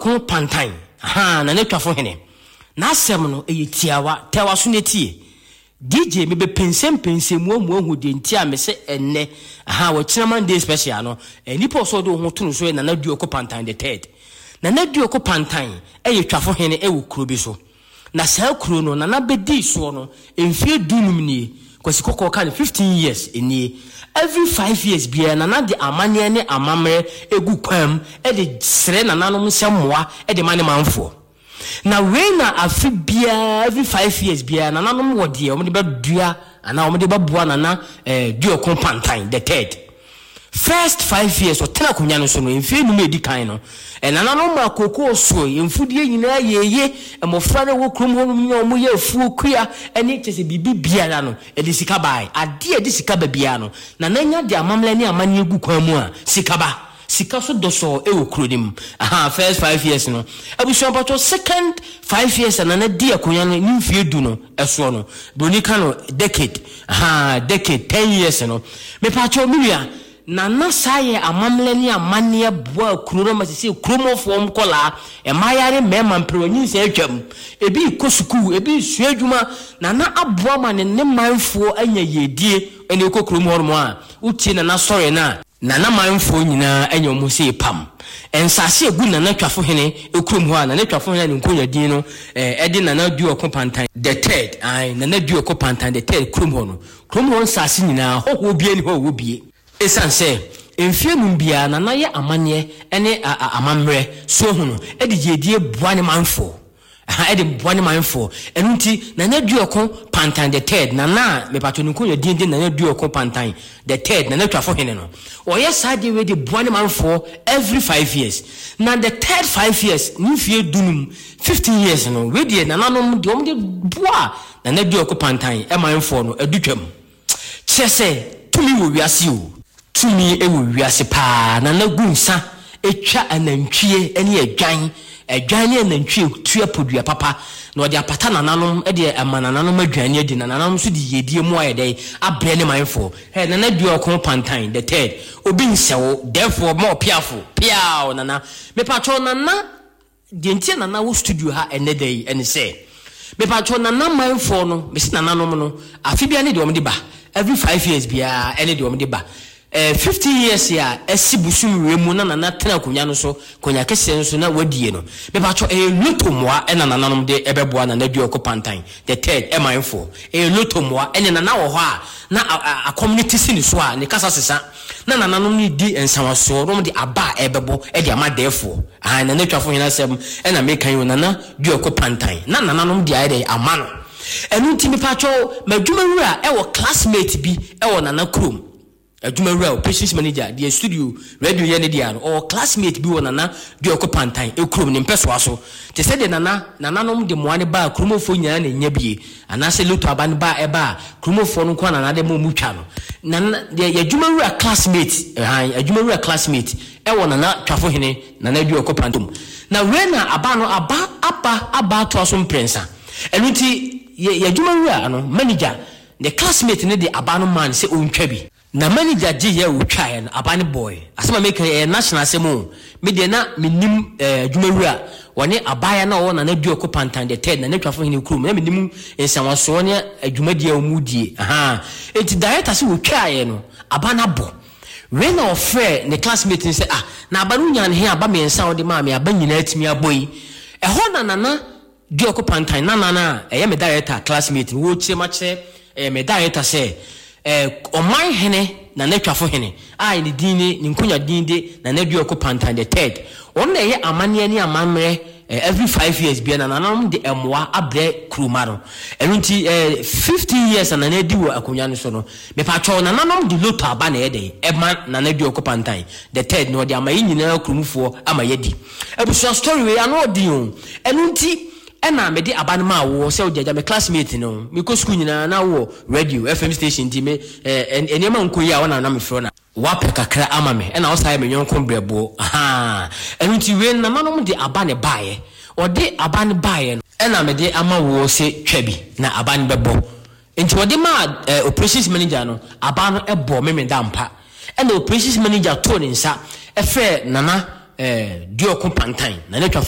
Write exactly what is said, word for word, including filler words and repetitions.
Duɔko Pantan, ahaa, Nana Twafo Hene. N'asɛm no, ɛyɛ tiawa, tɛ w'aso na tie. D J, mebɛpɛnsɛmpɛnsɛm mu ahu ahu deɛ nti a mese ɛnnɛ, ahaa, wɔkyena Monday special no, eh, nipa ɔsɛ ɔde wo ho to no so yɛ Nana Duɔko Pantan the third. Nana Duɔko Pantan yɛ Twafo Hene wɔ kuro bi so. Na saa kuro no, Nana bɛdii soɔ no, mfeɛ du-num nie. Kwasi Kɔkɔɔ ka no fifteen years nie. Every five years biara, Nana de amanneɛ ne amammerɛ gu kwan mu de srɛ nananom sɛ mmoa de ma ne manfoɔ. Na wei na afe biara, every five years biara, nananom wɔ deɛ wɔde bɛdua anaa wɔde bɛboa Nana eh, Duoko Pantan the third. First five years ɔtena akonnwa no so no, mfeɛ nnum a ɛdi kan no, nananom maa kookoo soe, mfudeɛ nyinaa yɛɛye, mmɔfra no a ɛwɔ kurom hɔnom nyinaa wɔyɛ afuo, kua ne kyerɛ sɛ biribi biara no, ɛde sika baeɛ. Adeɛ a ɛde sika ba biara no, Nana nya de amammerɛ ne amanneɛ gu kwan mu a, sika ba. Sika so dɔsɔɔ wɔ kuro no mu. Ahaa, first five years no. Abusua mpakyɛw, second five years a Nana dii akonnwa no ne mfeɛ du no soɔ no, Broni ka no decade, ahaa, decade, ten years no, mepakyɛw me nua, Nana saa yɛ amammerɛ ne amanneɛ boaa kuro no ma sesei kuromɔfoɔ nkɔlaa, mmaayaa ne mmarima mperewa nyinsɛn atwam, ebi rekɔ sukuu, ebi resua adwuma, Nana aboa ma ne ne manfoɔ anya yiedie, ɛne wokɔ kurom hɔnom a, wotie Nana sɔre no a, Nana manfoɔ nyinaa anya wɔn ho sei pam. Nsaase a ɛgu Nana Twafohene kurom hɔ a Nana Twafohene a ne nkonya din no de Nana Duoko Pantan the third, ae, Nana Duoko Pantan the third kurom hɔ no, kurom hɔ nsaase nyinaa, hɔhoɔ biara nni hɔ a ɔwɔ bie. Ɛsiane sɛ mfeɛ num biara Nana yɛ amanneɛ ne amammerɛ suahunu de yiedie boa ne manfoɔ, Aha de boa ne manfoɔ. Ɛno nti, Nana Duoko Pantan the third, Nana a mepatɔ ne nkonwa din de Nana Duoko Pantan the third, Nana Twafo Hene no, ɔyɛ saa adeɛ wei de boa ne manfoɔ every five years. Na the third five years, ne mfeɛ du num, fifteen years no, wei deɛ nananom deɛ wɔde boa Nana Duoko Pantan manfoɔ no, adu twam. Kyerɛ sɛ, tumi wɔ wiase o. Tumi wɔ wiase paa. Nana gu nsa twa anantwie ne adwan. Adwan ne anantwie tua podua papa na ɔde apata nananom de ama nananom aduane adi na nananom nso de yiedie mu ayɛ dɛn abrɛ ne manfoɔ. Hɛ, Nana dua ɔko pantan the third. Obi nsɛ wo, therefore ma ɔpeafo, peaw Nana. Mepakyɛw Nana. Deɛ nti a Nana wɔ studio ha ɛnnɛ da yi ɛne sɛ, mepakyɛw Nana manfoɔ no, mese nananom no, afe biara ne deɛ wɔde ba, every five years biara ɛne deɛ wɔde ba. Eh, fifteen years a asi bosom wei mu na Nana tena akonnwa no so, akonnwa kɛseɛ no so na wadie no, mepakyɛw ɛyɛ lotto mmoa ɛna nananom de ɛbɛboa Nana Duoko Pantan the third ɛmanfoɔ. Ɛyɛ lotto mmoa, ɛne Nana wɔ hɔ a na akɔm no te si ne so a ne kasa sesa. Na nananom no redi nsawasoɔ na wɔde aba a ɛrebɛbɔ de ama dɛɛfoɔ. Aane, Nana Twafo hene asɛm na meka yi o, Nana Duako Pantan. Na nananom de ayɛ dɛn ama no. Ɛno nti mepakyɛw, m'adwumawura wɔ classmate bi wɔ Nana kurom. Adwumawura, operations manager, deɛ studio radio yɛ ne dea no, ɔwɔ classmate bi wɔ Nana Duako Pantan kurom, ne mpɛsoa so. Te sɛ deɛ Nana, nananom de mmoa no baa kuromfoɔ nyinaa na ɛnya bie. Anaasɛ lotto aba no ba a ɛba a kuromfoɔ no nko ara na na de ma wɔn twa no. Nana deɛ yɛ adwumawura classmate hann adwumawura classmate ɛwɔ Nana Twafohene Nana Aduɔkɔ Pantom. Na wei na aba no aba aba aba atoa so mprɛnsa. Ɛno nti yɛ yɛ adwumawura no manager ne classmate no de aba no maa no sɛ ɔntwa bi. Na manager gyeeɛ a ɔtwaeɛ no, aba no bɔɔe. Asɛm a mereka yi, ɛyɛ national asɛm o. Me deɛ na mennim eh, adwumawura, wɔne abaayewa no a ɔwɔ Nana Duoko Pantan the third, Nana Twafo Hene kurom, na mennim nsawasoɔ ne adwumadie a wɔredie. Ahaa. Enti director sɛ wɔtwaeɛ no, aba no abɔ. Wei na ɔfrɛɛ ne classmate no sɛ, ah, na aba no wonyaa no he? Aba mmiɛnsa a wode maa me, aba nyinaa atumi abɔ yi. Ɛhɔ na Nana Duoko Pantan Nana no a ɛyɛ me director classmate no, wɔrekyerɛ mu akyerɛ ɛyɛ me director sɛ eh, ɔman hene Nana Twafo Hene a ne din ne ne nkonya din de Nana Duoko Pantan the third, ɔno na ɛyɛ amanneɛ ne amammerɛ eh, every five years biara na nananom de mmoa abrɛ kuroma no. Ɛno nti eh, fifteen years a Nana adi wɔ akonnwa no so no, mepatwɔw nananom de lotto aba na ɛyɛ dɛn ɛma Nana Duoko Pantan the third na ɔde ama yɛn nyinaa kuromfoɔ ama yɛadi. Abusua story wei ano ɔden o. Ɛno nti ɛna mede aba no maa woɔ sɛ wode agya me classmate no. Mekɔ sukuu nyinaa na wowɔ radio, F M station nti me eh, nneɛma nkɔ yie a wo na na mefrɛ wo na woapɛ kakra ama me ɛna wo saa yɛ me yɔnko brɛboɔ ahaa. Ɛno nti wei no nananom de aba na ɛbaeɛ. Wɔde aba no baeɛ no ɛna mede ama woɔ sɛ twa bi na aba no bɛbɔ. Nti wɔde maa eh, operations manager no, aba no bɔɔ Memenda ampa. Ɛna operations manager too ne nsa frɛɛ Nana eh, Duoko Pantan, Nana Twafo.